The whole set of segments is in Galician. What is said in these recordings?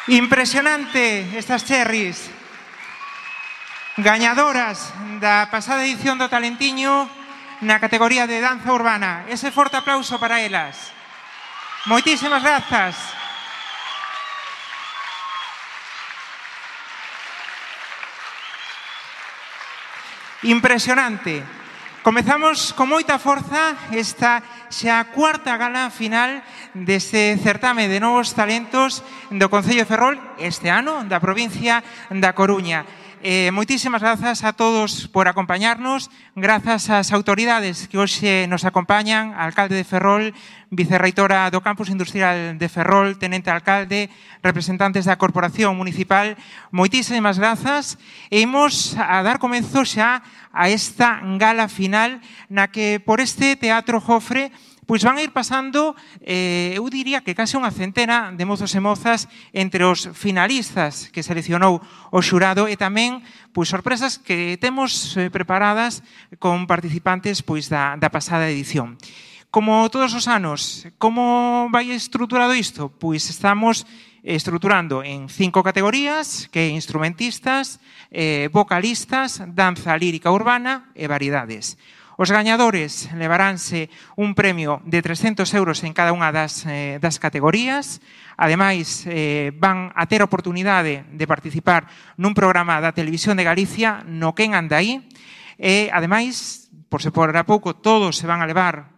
Impresionante estas cherries. Gañadoras da pasada edición do Talentiño na categoría de danza urbana. Ese forte aplauso para elas. Moitísimas grazas. Impresionante. Comezamos con moita forza esta xa cuarta gala final deste certame de novos talentos do Concello de Ferrol este ano da provincia da Coruña. Moitísimas grazas a todos por acompañarnos, grazas ás autoridades que hoxe nos acompañan, alcalde de Ferrol, vicerreitora do Campus Industrial de Ferrol, tenente alcalde, representantes da Corporación Municipal, moitísimas grazas. E imos a dar comenzo xa a esta gala final na que por este Teatro Jofre pois van a ir pasando, eu diría que case unha centena de mozos e mozas entre os finalistas que seleccionou o xurado e tamén pois sorpresas que temos preparadas con participantes pois da pasada edición. Como todos os anos, como vai estruturado isto? Pois estamos estruturando en 5 categorías, que é instrumentistas, vocalistas, danza lírica urbana e variedades. Os gañadores levaránse un premio de 300 euros en cada unha das categorías. Ademais, van a ter a oportunidade de participar nun programa da Televisión de Galicia, no Quen anda aí. E, ademais, por se por a pouco, todos se van a levar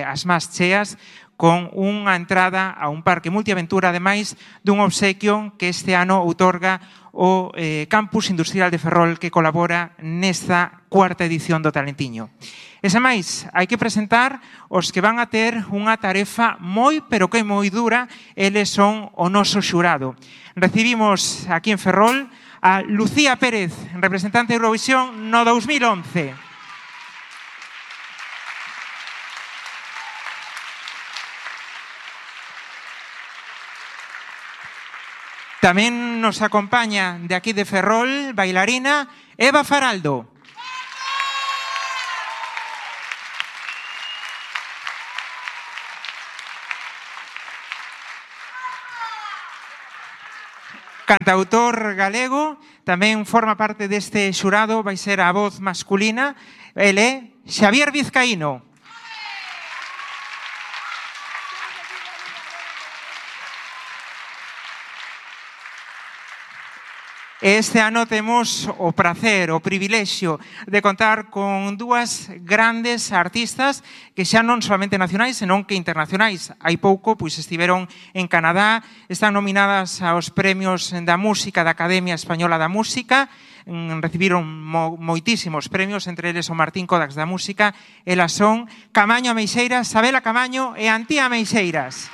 as más cheas con unha entrada a un parque multiaventura, ademais dun obsequio que este ano outorga o Campus Industrial de Ferrol, que colabora nesta cuarta edición do Talentiño. E sen máis, hai que presentar os que van a ter unha tarefa moi, pero que moi dura. Eles son o noso xurado. Recibimos aquí en Ferrol a Lucía Pérez, representante de Eurovisión no 2011. Tamén nos acompaña de aquí de Ferrol, bailarina Eva Faraldo. Cantautor galego, tamén forma parte deste xurado, vai ser a voz masculina. El é Xavier Vizcaíno. Este ano temos o prazer, o privilexio de contar con dúas grandes artistas que xa non solamente nacionais, senón que internacionais. Hai pouco pois estiveron en Canadá, están nominadas aos premios da música da Academia Española da Música, recibiron moitísimos premios, entre eles o Martín Kodax da Música. Elas son Camaño Ameixeiras, Sabela Camaño e Antía Ameixeiras.